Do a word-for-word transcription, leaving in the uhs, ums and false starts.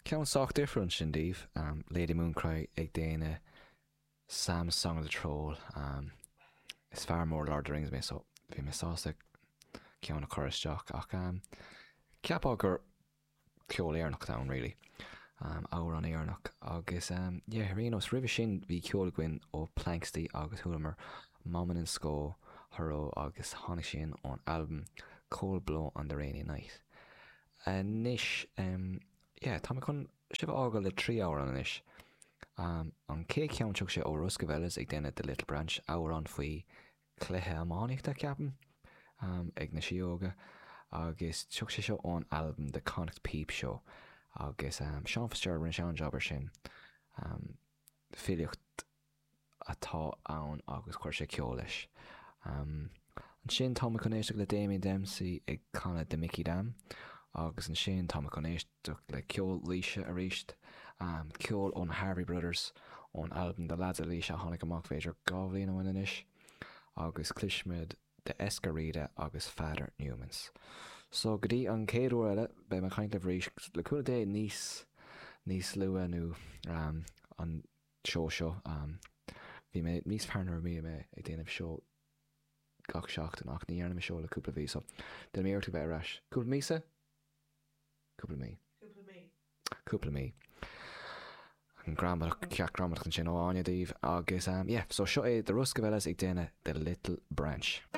Ceann sách difriúil ansin daoibh, um, Lady Mooncry ag déanamh Sam's Song of the Troll. Um, is fear mór Lord of the Rings mé so bhí mé sásta ceann a chur isteach ach um, ceapá gur ceol Éireannach ann really. Um, amhrán Éireannach agus um, yeah, ar aon nós roimhe sin bhí ceol againn ó Planxty agus chualamar Momon and Sco Thuró agus tháinig sin ón albam Cold Blow on the Rainy Night. Anois um, yeah, tá mé chun sibh a fhágáil le trí amhrán anois. Um, an chéad cheann tiocfaidh sé ó Ruskavellas ag déanamh The Little Branch amhrán faoi chluiche iománaíochta ceapaim um, ag na síóga agus tiocfaidh sé seo ón albam The Connacht Peep Show agus um, Sean Fitzgerald rinne sé an job ar sin um, filíocht atá ann agus chuir sé ceol leis. Um, ansin tá mé chun éisteacht le Damien Dempsey ag canadh The Mickey Dam agus ansin tá mé chun éisteacht le ceol Laoise arís um, ceol ón Harvey Brothers ón albam The Lads of Laois a tháinig amach b'fhéidir dhá bhliain ó shin anois agus cloisfimid The Escarida agus Father Newmans. So go dtí an chéad uair eile beidh mé ag caint libh arís le cúnamh Dé níos níos luaithe nó um, an seó seo um, bhí mé níos fearr nuair a bhí mé ag déanamh seó gach seachtain ach ní dhearna mé seó le cúpla mhí so déanfaidh mé iarracht bheith ar ais. Cúpla míosa? Cúpla mí. Cúpla mí. Cúpla mí. An gramadach ceacht gramadach ansin ó Áine daoibh agus um, yeah, so seo é The Ruskavellas ag déanamh The Little Branch.